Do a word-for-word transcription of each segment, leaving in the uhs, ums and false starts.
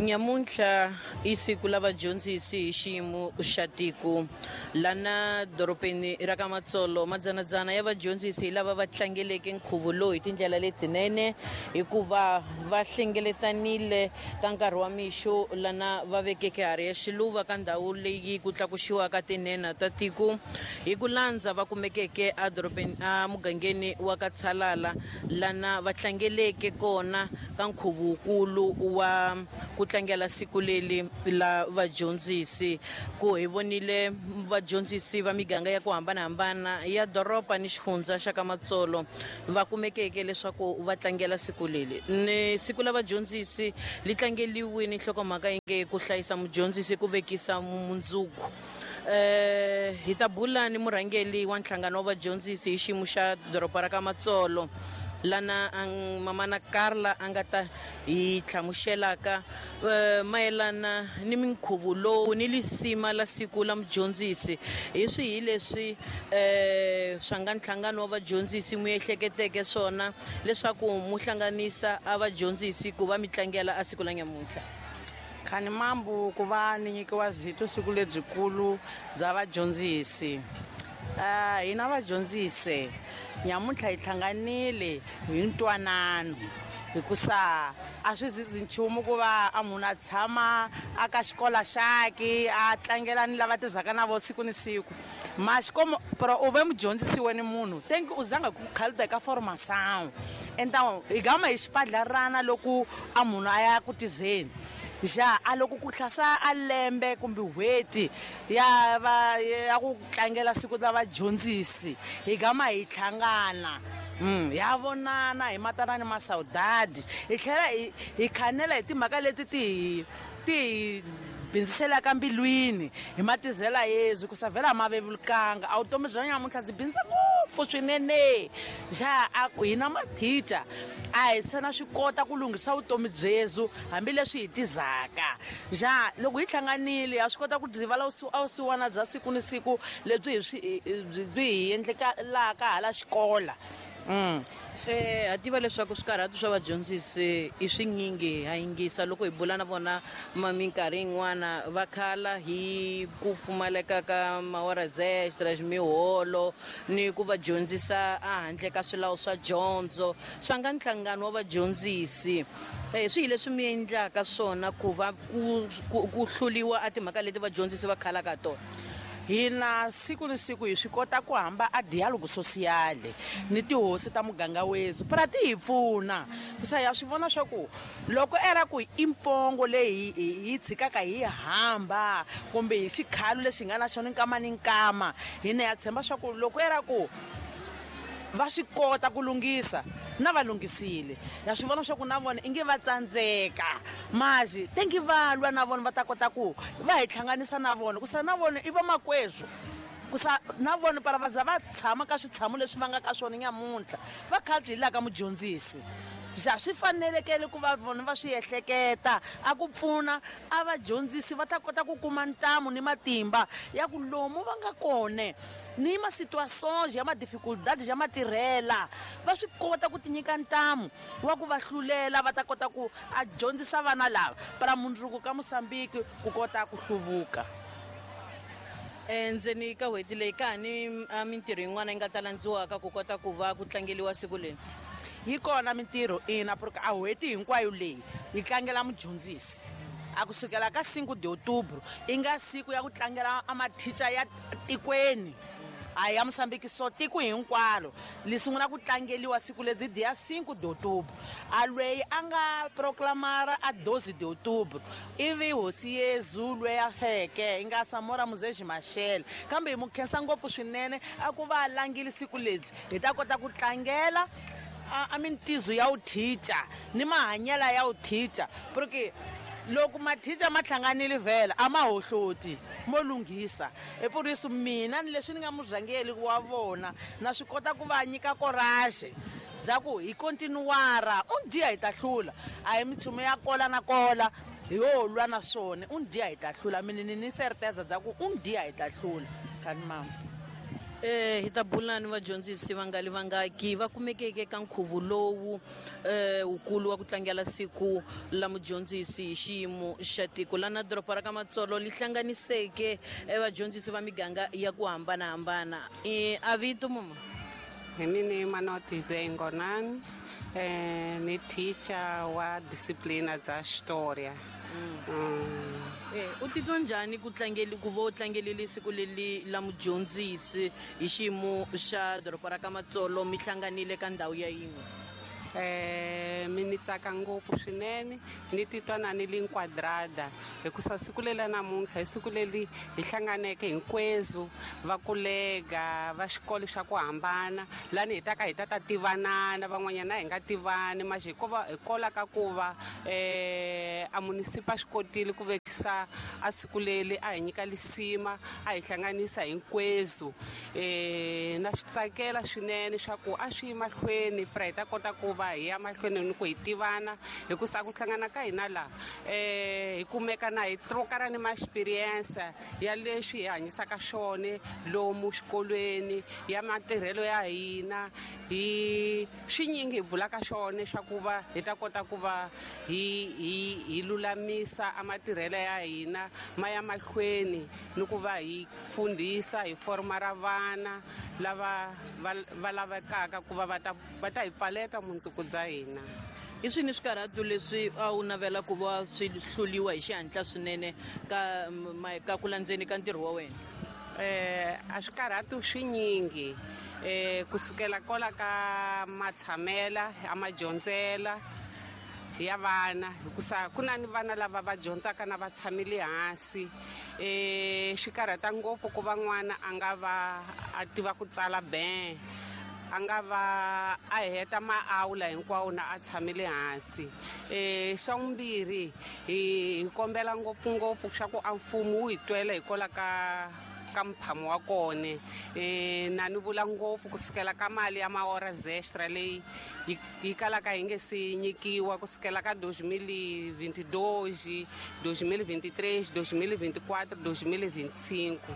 Nyamuntlha i siku la vadyondzisi hi xiyimo xa tiko lana dorobeni ra ka Matsolo madzanadzana ya vadyondzisi hi lava va tlangeleke nkhuvo lowu hi tindlela letinene hikuva va hlengeletanile ka nkarhi wa mixo lana va vekeke harhi ya xiluva ka ndhawu leyi ku tlakuxiwaka tinhenha ta tiko hi ku landza va kumekeke edorobeni emugangeni wa ka Tshalala lana va tlangeleke kona ka nkhuvo wukulu wa ku tlangela siku leli la vadyondzisi ku hi vonile vadyondzisi va miganga ya ku hambanahambana ya doroba ni xifundza xa ka Matsolo va kumekeke leswaku va tlangela siku leli ni siku la vadyondzisi li tlangeliwini nhlokomhaka yi nge ku hlayisa mudyondzisi ku vekisa mundzuku. Eh hi ta bula ni murhangeli wa nhlangano wa vadyondzisi hi xiyimo xa doroba ra ka Matsolo lana mamana Carla a nga ta hi hlamuselaka mayelana ni minkhuvo lowu ni lisima la siku la mudyondzisi hi swihi leswi um swa nga nhlangano wa vadyondzisi mu ehleketeke swona leswaku mu hlanganisa a vadyondzisi ku va mi tlangela a siku la nyamuntlha. Khani mambu ku va ni nyikiwa zito siku lebyikulu bya vadyondzisi. Uh, hina vadyondzisi nyamuntlha hi hlanganile hi ntwanano hikusa a swi zizi nchumu ku va a munhu a tshama a ka xikola xaki a tlangela ni lava tirhisaka na vo siku ni siku maxikomo pero u ve mudyondzisi wena munhu thank you u zanga ku khalida ka formação então hi gama hi xipadlarana loko a munhu a ya ku tizeni ja a loko ku hlasa a lembe kumbe n'hweti ya va ya ku tlangela siku la vadyondzisi hi gama hi hlangana Mm, ya vonana hi matana ni masaudadi hi tlhela hi hi khanela hi timhaka leti ti hi ti hi bindziselaka mbilwini hi matizela yezu ku sa vhela ma vevulukanga a vutomi bya nyamuntlha byi bindza ngopfu swinene ja a ku hina mathicha a hi se na swi kota ku lunghisa vutomi byezu hambileswi hi tizaka ja loko hi hlanganile ha swi kota ku byivala vusiwana bya siku ni siku lebyi hi swi byi hi endlekalaka hala xikola. Mm. Se ha tiva leswaku swikarhati swa vadyondzisi i swinyingi ha yingisa loko hi bula na vona minkarhi yin'wana va khala hi ku pfumaleka ka mahoras extras miholo ni ku va dyondzisa ehandle ka swilawu swa dyondzo swa nga nhlangano wa vadyondzisi eh swi hi leswi mi endlaka swona ku va ku ku hluliwa a timhaka leti vadyondzisi va khalaka tona. Hina siku ni siku hi swi kota ku hamba a dialogue sociale ni tihosi ta muganga wezu pra ti hi pfuna kusa ya swi vona swa ku loko era ku i mpongo leyi hi tshikaka hi hamba kumbe hi xikhalo lexi nga na xona nkama ni nkama hina ya tshemba swa ku loko era ku va swi kota ku lunghisa na va lunghisile ya swi vona swa ku na vona i nge va tsandzeka maxi tengi va lwa na vona va ta kota ku va hi hlanganisa na vona ku sa na vona i vamakwezwo ku sa na vona para va za va tshama ka switshamo leswi va nga ka swona nyamuntlha va kha byi la ka mudyondzisi ja swi fanelekele ku va vona va swi ehleketa a ku pfuna a vadyondzisi va ta kota ku kuma ntamu ni matimba ya ku lomu va nga kone ni ma situations ya ma dificultades ya matirhela va swi kota ku tinyika ntamu wa ku va hlulela va ta kota ku a dyondzisa vana lava para mundzuku ka Mosambiki ku kota ku hluvuka. Endzeni ka n'hweti leyi ka ha ni mintirho yin'wana yi nga ta landziwaka ku kota ku va ku tlangeliwa siku leri. Yi kona mintirho ina porque a n'hweti hinkwayo leyi yi tlangela mudyondzisi a kusukela ka cinco de outubro i nga siku ya ku tlangela a mathicha ya tikweni a ya Mosambiki so tiko hinkwalo li sungula ku tlangeliwa siku lebyi dia cinco de outubro a lweyi a nga proclamara a doze de outubro ivi hosi Yezu lweyi a feke i nga Samora Muzezi Machel kambe hi mu khensa ngopfu swinene a ku va a langile siku lebyi hi ta kota ku tlangela a mintizo ya wuthicha ni mahanyela ya wuthicha porque loko mathicha ma hlanganile vhela a ma hohloti mo lunghisa hi por isso mina ni leswi ni nga murhangeli wa vona na swi kota ku va nyika courage bya ku hi continuara un dia hi ta hlula a hi minchumu ya kola na kola hi yo lwa na swona un dia hi ta hlula mina ni ni certeza bya ku un dia hi ta hlula khani mama. Eh hi ta bula ni vadyondzisi vangali vangaki va kumekeke ka nkhuvo lowu eh wukulu wa ku tlangela siku la mudyondzisi hi xiyimo xa tiko lana doroba ra ka Matsolo li hlanganiseke vadyondzisi va miganga ya ku hambanahambana. I a vito mama? Hi mina Manoti Zengonani, eh ni teacher wa disciplina dza historia. Mm. Eh u titwa njhani ku tlangeli ku va u tlangelile siku leri la mudyondzisi hi xiyimo xa doroba ra ka Matsolo mi hlanganile ka ndhawu ya yin'we? Eh mi ni tsaka ngopfu swinene, ni titwa na ni li nquadrada hikusa siku leri namuntlha i siku leri hi hlanganeke hinkwezu va kolega va xikolo xa ku hambana lani hi ta ka hi ta ta tivanana van'wanyana hi nga tivani manje hikuva hikola ka ku va eh a munisipa swi kotile ku vekisa a siku leri a hi nyika lisima a hi hlanganisa hinkwezu. Eh na swi tsakela swinene swa ku a swi yi mahlweni pra hi ta kota ku va hi ya mahlweni ni ku hi tivana hikusa ku hlangana ka hina laha eh hi kumeka na hi trokara ni ma experience ya leswi hi hanyisaka swona lomu xikolweni ya matirhelo ya hina hi swinyingi hi bulaka swona swa ku va hi ta kota ku va hi hi hi lulamisa a matirhelo ya hina ma ya mahlweni ni ku va hi fundhisa hi forma ra vana lava va lavekaka ku va va ta va ta hi pfaleta mundzuku bya hina. Hi swini swikarhatu leswi a wu navela ku va swi hluliwa hi xihatla swinene ka ka ku landzeni ka ntirho wa wena? Eh a swikarhatu swinyingi eh kusukela kola ka matshamela a madyondzela ya vana hikusa ku na ni vana lava va dyondzaka na va tshamile hansi. Eh swi karhata ngopfu ku va n'wana a nga va a tiva ku tsala ben a nga va a heta maawula hinkwawo na a tshamile hansi. Eh xa vumbirhi hi kombela ngopfungopfu swa ku a mfumo wu hi twela hikola ka ka mphamo wa kona. Eh na ni vula ngopfu kusukela ka mali ya maora extra leyi yi kalaka yi nge se nyikiwa kusukela ka dois mil e vinte e dois, dois mil e vinte e três, dois mil e vinte e quatro, dois mil e vinte e cinco.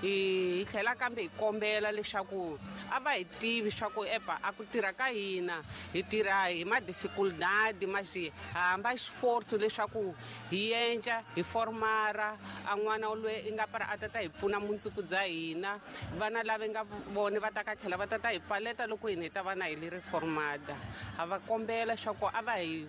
Hi tlhela kambe hi kombela leswaku a va hi tivi swa ku epa a ku tirha ka hina hi tirha hi ma dificuldade mas hamba esforço leswaku hi endla hi formara a n'wana loyi i nga para a ta ta hi pfuna mundzuku bya hina vana lava nga vone va ta ka tlhela va ta ta hi pfaleta loko hina hi ta va na hi leri formada. Ha va kombela swa ku a va hi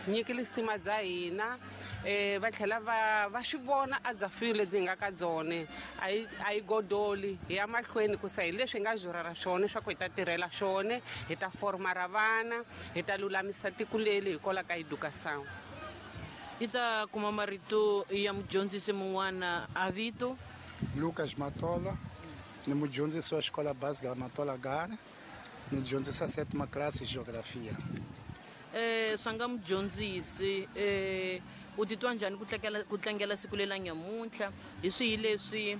nyiki lisima bya hina eh va tlhela va va swi vona a dzafile lebyi hi nga ka byone a yi a yi godoli hi ya mahlweni ku sa hi leswi hi nga jurara swona swa ku hi ta tirhela swona hi ta formara vana hi ta lulamisa tiko leri hikola ka educação. Hi ta kuma marito ya mudyondzisi mun'wana a vito Lucas Matola, ni mudyondzisi wa xikola básica Matola Gara, ni dyondzisa sétima classe de geografia. Eh swa nga mudyondzisi eh u titwa njhani ku tlangela ku tlangela siku leri la nyamuntlha hi swihi leswi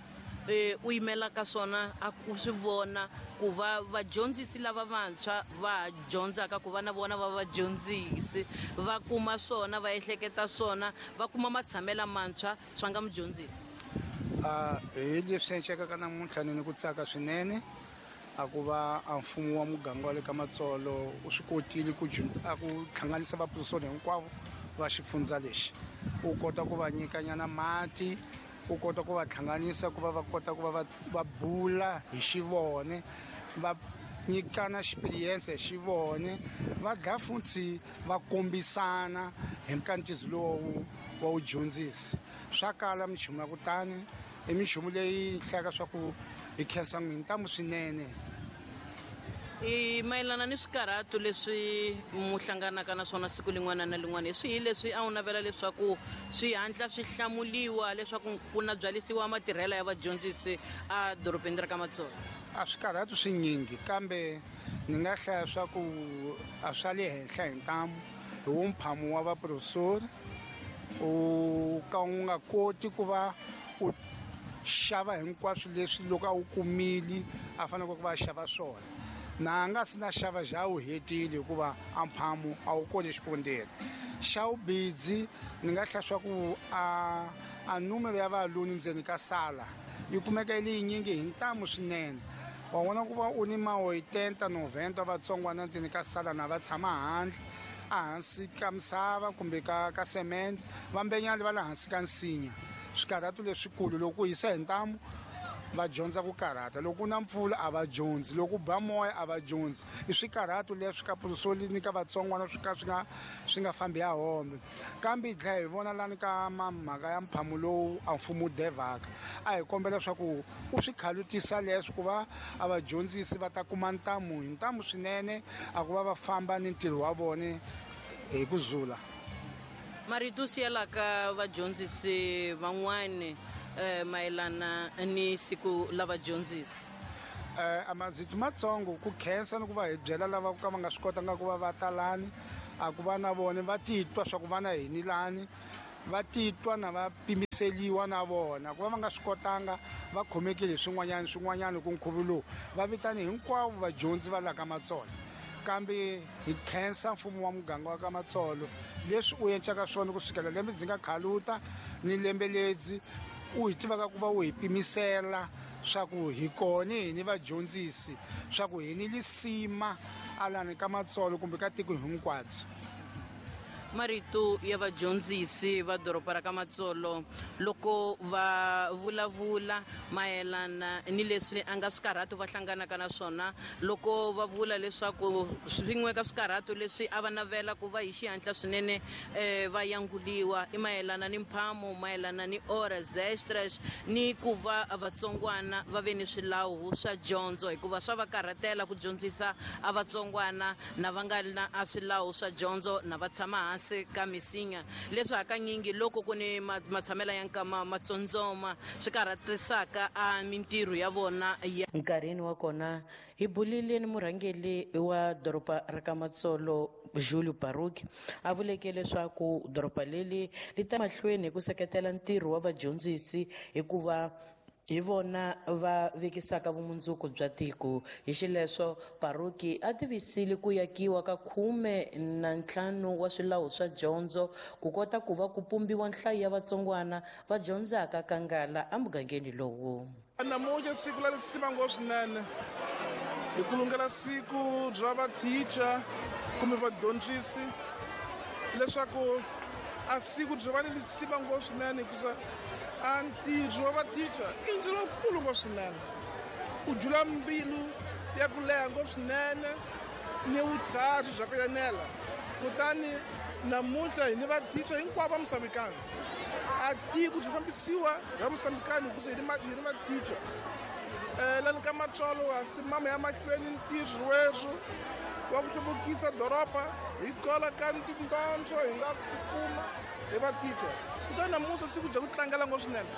eh u yimelaka swona a ku swi vona ku va vadyondzisi lava vantshwa va dyondzaka ku va na vona va vadyondzisi va kuma swona va ehleketa swona va kuma matshamela mantshwa swa nga mudyondzisi? A hi leswi endlekaka namuntlha ni ku tsaka swinene a ku va a mfumo wa muganga wa le ka Matsolo u swi kotile ku a ku hlanganisa vaprofesori hinkwavo va xifundza lexi u kota ku va nyikanyana mati u kota ku va hlanganisa ku va va kota ku va va bula hi xivone va nyikana experience hi xivone va dlaya futhi va kombisana hi nkantiso lowu wa wudyondzisi. Swa kala minchumu ya kutani i minchumu leyi hlayaka swa ku hi khensa n'wini ntamu swinene. I mayelana ni swikarhatu leswi mu hlanganaka na swona siku lin'wana na lin'wana hi swihi leswi a wu navela leswaku swi hatla swi hlamuliwa leswaku ku na byalisiwa matirhelo ya vadyondzisi a dorobeni ra ka Matsolo? A swikarhatu swinyingi kambe ni nga hlaya swa ku a swa le henhla hi ntamu hi wo mphamo wa vaprofesori u ka u nga koti ku va u xava hinkwaswo leswi loko a wu kumile a faneleke ku va a xava swona na nga si na xava xa wu hetile hikuva a mphamo a wu koti xipondeni. Xa vubidzi ni nga hlaya swa ku a a numero ya valuni ndzeni ka sala yi kumeka yi li yinyingi hi ntamu swinene Wa vona ku va u ni ma oitenta noventa vatsongwana ndzeni ka sala na va tshama handle ehansi ka misava kumbe ka ka cement, vambenyali va le hansi ka nsinya. Swikarhato leswikulu loko ku hisa hi ntamu va dyondza ku karhata, loko ku na mpfula a va dyondzi, loko ku ba moya a va dyondzi. I swikarhato leswi ka pusoli ni ka vatsongwana swi ka swi nga swi nga fambi ya hombe. Kambe hi tlhela hi vona lani ka mhaka ya mphamo lowu a mfumo wu devaka, a hi kombela leswaku u swi khalutisa leswi ku va a vadyondzisi va ta kuma ntamu hi ntamu swinene a ku va va famba ni ntirho wa vona hi ku zula. Marito siyelaka vadyondzisi van'wani eh, mayelana ni siku la vadyondzisi. Eh, a mazito matsongo ku khensa ni ku va hi byela lava ka va nga swi kotanga ku va va talani, a ku va na vona va titwa swa ku va na hini lani, va titwa na va pimiseliwa na vona ku va va nga swi kotanga va khomekile hi swin'wanyana swin'wanyana ku nkhuvo lowu va vitani hinkwavo vadyondzi va la ka Matsolo. Kambe hi khensa mfumo wa muganga wa ka Matsolo leswi u endlaka swona kusukela lembe ndzi nga khaluta ni lembe ledzi u hi tivaka ku va u hi pimisela swa ku hi kona hi ni vadyondzisi swa ku hi ni lisima alani ka Matsolo kumbe ka tiko hinkwabyo. Marito ya vadyondzisi va doroba ra ka Matsolo loko va vulavula mayelana ni leswi a nga swikarhato va hlanganaka na swona, loko va vula leswaku swin'we ka swikarhato leswi a va navela ku va hi xihatla swinene eh, va yanguliwa i mayelana ni mphamo, mayelana ni horas extras ni ku va vatsongwana va ve ni swilawu swa dyondzo, hikuva swa va karhatela ku dyondzisa a vatsongwana na va nga na a swilawu swa dyondzo na va tshama hansi ka misinya, leswi hakanyingi loko ku ni matshamela ya nkama matsondzoma swi karhatisaka a mintirho ya vona ya. Nkarhini wa kona hi bulile ni murhangeri wa doroba ra ka Matsolo Julio Baruki, a vuleke leswaku doroba leri li ta mahlweni hi ku seketela ntirho wa vadyondzisi hikuva hi vona va vekisaka vumundzuku bya tiko. Hi xileswo Baruki a tivisile ku yakiwa ka khume na ntlhanu wa swilawu swa dyondzo ku kota ku va ku pumbiwa nhlayo ya vatsongwana va dyondzaka ka ngala emugangeni lowu. Namuntlha siku la lisima ngopfu swinene hi ku lungela siku bya vathicha kumbe vadyondzisi, leswaku a siku byi va ni lisima ngopfu swinene hikusa a ntirho wa vathicha i ntirho lowukulu ngopfu swinene, u jula mbilu ya ku leha ngopfu swinene ni vutlhari bya ku enela. Kutani namuntlha hi ni vathicha hinkwavo va Mosambikani, a tiko byi fambisiwa hi Mosambikani hikusa hi ni vathicha. um lani ka Matsolo a simama ya mahlweni ntirho weswo wa ku hluvukisa doroba hi kola ka tindondzo hi nga tikuma hi vathicha. Kutani namuntlha siku bya ku tlangela ngopfu swinene,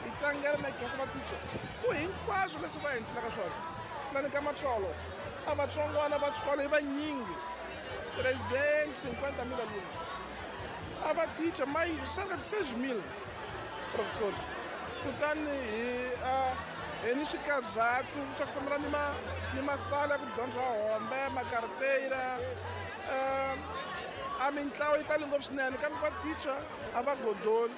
hi tlangela na hi khensa vathicha ku hinkwaswo leswi va hi endlelaka swona. Lani ka Matsolo a vatsongwana va xikolo i vanyingi trezentos cinquenta mil alunos, a vathicha mais cerca de seis mil professores. Kutani hi hi ni swikarhatu swa ku fambela ni ma ni masala ya ku dyondza hombe makarteira a mintlawa yi tali ngopfu swinene, kambe vathicha a va godoli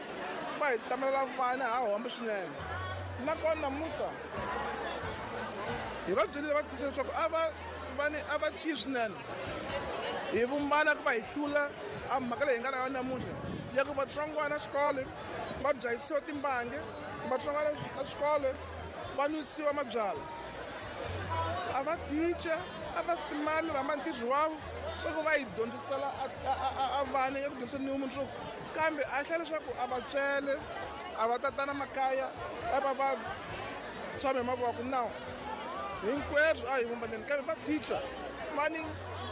va hi tamelela vana ha hombe swinene. Nakona namuntlha hi va byelile vathicha leswaku a va va ni a va tivi swinene, hi vumbana ku va hi hlula a mhaka leyi hi nga na yona namuntlha ya ku vatsongwana xikolo va byayisiwa timbangi, vatsongwana xikolo va nwisiwa mabyalwa. A va ticha a va simami va hamba ntirho wa vo va hi dyondzisela a vana ya ku dyondzisa ni mundzuku, kambe a hlaya leswaku a va tswele a va tatana makaya a va va tshame hi mavoko nawu hinkweswo a hi vumbaneni. Kambe va ticha va ni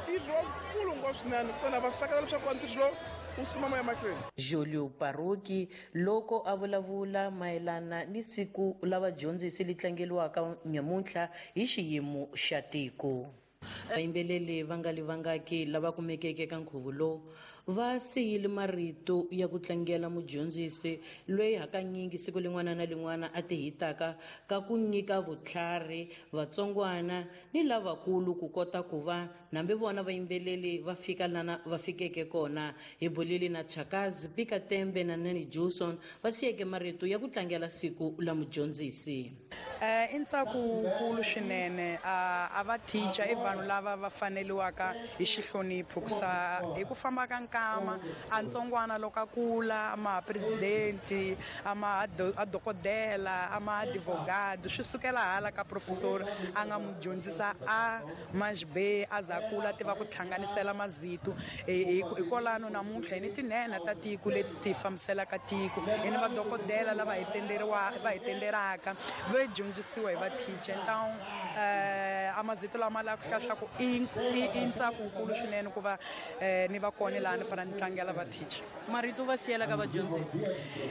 ntirho wukulu ngopfu swinene, kutani va sakela leswaku ntirho lowu wu simama emahlweni. Julio Baruki loko a vulavula mayelana ni siku la vadyondzisi li tlangeliwaka nyamuntlha hi xiyimo xa tiko. Vayimbeleri va nga li vangaki lava kumekeke ka nkhuvo lowu Va siyile marito ya ku tlangela mudyondzisi loyi hakanyingi siku lin'wana na lin'wana a ti hitaka ka ku nyika vutlhari vatsongwana ni lavakulu ku kota ku va nambe vona vayimbeleli va fika lana va fikeke kona. Hi bulile na Chakazi Pika Tembe na Nani Johnson va siyeke marito ya ku tlangela siku la mudyondzisi. Eh i ntsako wukulu swinene a va teacher i vanhu lava va faneliwaka hi xihlonipho ku sa hi ku famba ka nkama a ntsongwana loko a kula ama president ama a dokodela ama advogado swi sukela hala ka professor a nga mu dyondzisa a manj B a za kula tiva ku hlanganisela mazito hikwalano namuntlha hi ni tinene ta tiko leti ti fambiselaka tiko hi ni vadokodela lava hi tenderiwa va hi tenderaka va dyondzisiwa hi va teacher. Então eh amazito lama la ku hlaya ku i i ntsako wukulu swinene ku va ni va kona lani para ni tlangela va teacher. Marito va siyela ka vadyondzisi?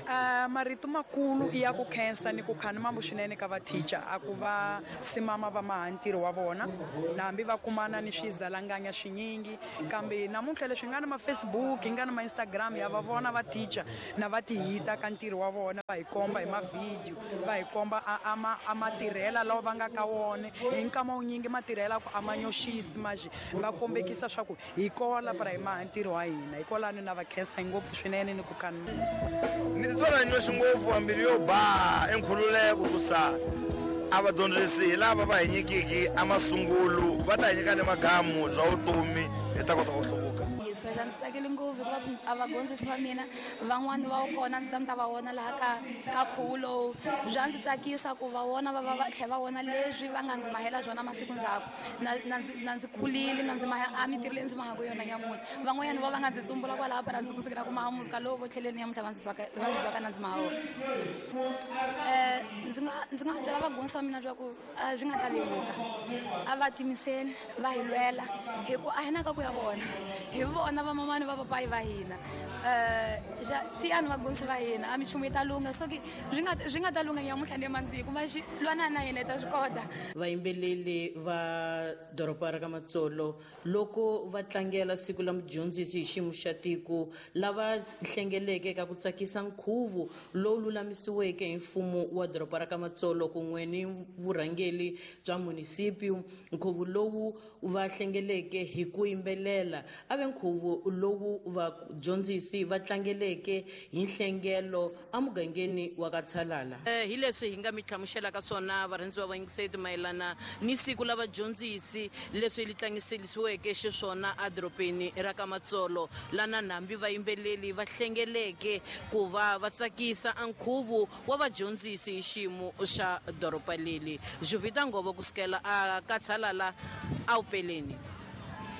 Eh marito makulu i ya ku khensa ni ku khani mambo swinene ka va teacher a ku va simama va maha ntirho wa vona na hambi va kumana ni swizalanganya swinyingi kambe namuntlha leswi nga na ma Facebook nga na ma Instagram ya va vona va teacher na va ti hita ka ntirho wa vona va hi komba hi ma video va hi komba a ma a matirhela lawa va nga ka wona hi nkama wunyingi matirhela ku a ma nyoxisi maji va kombekisa swa ku hi kola para hi maha ntirho wa hina hikwalano na va khensa ngopfu swinene ni ku khani ni titwa na nyoxi ngopfu mbilu yo ba enkhululeko ku sa a vadyondzisi hi lava va hi nyikiki a masungulu va ta hi nyika ni magamu bya vutomi hi ta kota ku hluvuka. Ndzi tsakile ngopfu hikuva a vadyondzisi va mina van'wani va kona ndzi ta ni ta va vona laha ka ka khuvo lowu bya ndzi tsakisa ku va vona va va va tlhela va vona leswi va nga ndzi mahela swona masiku ndzhaku na na ndzi na ndzi kulile na ndzi maha a mintirho leyi ndzi mahaka yona nyamuntlha van'wanyana va va nga ndzi tsumbula kwalaho para ndzi kusukela ku maha muzika lowu vo tlheleni nyamuntlha va ndzi zwaka va ndzi zwaka na ndzi maha wona. Eh ndzi nga ndzi nga byela vadyondzisi va mina swa ku swi nga ta vevuka a va timiseli va hi lwela hi ku a hi na ka ku ya vona hi vona va mamani va papayi va hina eh ja tiyani vadyondzisi va hina a minchumu yi ta lungha so ki swi nga swi nga ta lungha nyamuntlha ni mandziko ma xi lwana na hina hi ta swi kota. Vayimbeleli va doroba ra ka Matsolo loko va tlangela siku la mudyondzisi hi xiyimo xa tiko lava hlengeleke ka ku tsakisa nkhuvo lowu lulamisiweke hi mfumo wa doroba ra ka Matsolo kun'we ni vurhangeri bya munisipio. Nkhuvo lowu va hlengeleke hi ku yimbelela a ve nkhuvo lowu vadyondzisi va tlangeleke hi nhlengelo emugangeni wa ka Tshalala. Hi leswi hi nga mi hlamuselaka swona varhandziwa va yingiseti mayelana ni siku la vadyondzisi leswi li tlangiselisiweke xiswona edorobeni ra ka Matsolo lana nambi vayimbeleli va hlengeleke ku va va tsakisa nkhuvo wa vadyondzisi hi xiyimo xa doroba leli. Juvita Ngovo kusukela a ka Tshalala a Upeleni.